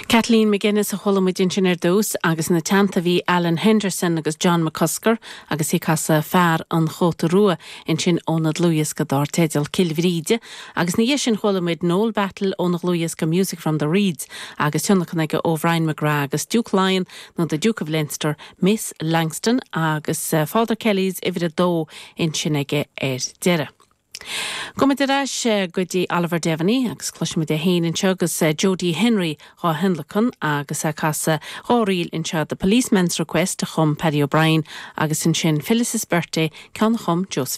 Kathleen McGuinness a chuala muid ansin ar dtús agus ina teannta bhí Alan Henderson agus John McCusker agus iad ag casadh Fear an Chóta Rua ansin óna dlúthdhiosca dár teideal Cill Bhríde agus ina dhiaidh sin chuala muid Noel Battle óna dhlúthdhiosca Music from the Reeds agus tionlacan aige ó Bhrian McGrath agus Duke Laighean nó The Duke of Leinster, Miss Langston agus Father Kelly's uimhir a dó ansin aige ar deireadh. Gabhfaimid ar ais go dtí Oliver Devaney agus cloisfimid é féin anseo agus Jodie Henry dhá thionlacan agus é ag casadh dhá ríl anseo, The Policeman's Request a chum Paddy O'Brien agus ansin Phyllis's Birthday, ceann a chum Joseph.